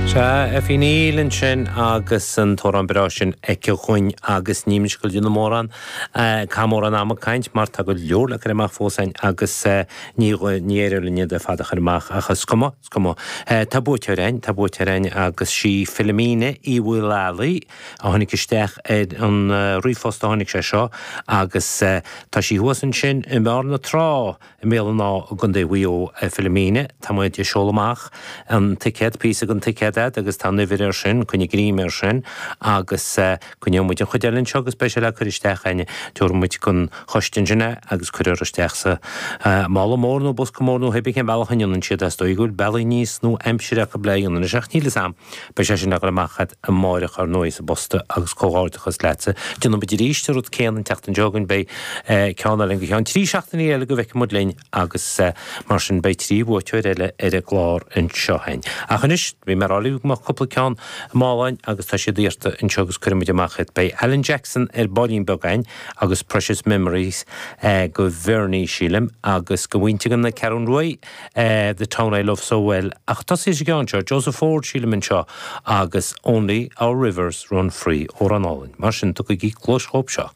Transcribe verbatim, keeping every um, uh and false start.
Sea, Effie Neill ansin agus an t-amhrán breá sin aici dhúinn agus níl ag goil déanamh mórán caitheamh mórán ama ag caint mar tá go leor le cur amach fós againn agus ní ní éireoidh linn iad ar fad a chur amach ach is cuma is cuma. Tá buaiteoir againn, tá buaiteoir againn agus sí Philomena Uí Mhaolaí a tháinig isteach ar an ríomhphost a tháinig sé seo agus tá sí thuas ansin i mBarr na Trá i mBéal an Átha i gContae Mhaigh Eo Philomena, Tá muid ag seoladh amach an ticéad píosa den ticéad agat agus tá an uimhir air sin, coinnigh greim air sin agus coinneoidh muid an chuid eile anseo agus beidh sé le cur isteach againn tabharfaidh muid don choiste ansin é agus cuirfear isteach sa mála mór nó bosca mór nó pé cén bealach a ndéanann siad as dóigh go bhfuil bealaí níos nó aimsire acu le dhéanamh anois ach níl a fhios agam beidh sé sin le cur amach agat amárach ar ndóigh sa bpost agus comhghairdeachas leatsa. Déanfaidh muid arís an rud céanna an tseachtain seo chugainn beidh ceann eile go ceann trí seachtainí eile go bhfeicfidh muid linn agus mar sin beidh trí bhuaiteoir eile ar an gclár anseo féin. Ach anois bhí mé ag rá libh go mbeadh cúpla ceann máláin agus tá siad iarrta anseo agus cuirfidh muid amach iad. Beidh Alan Jackson ar baillín beag againn agus Precious Memories go Bhernie sílim agus go mhuintir na Ceathrún Rua The Town I Love So Well ach tosaí sa gceann seo Joseph Ford sílim anseo agus Only Our Rivers Run Free amhrán álainn. Mar sin tugaigí cluas dhóibh seo.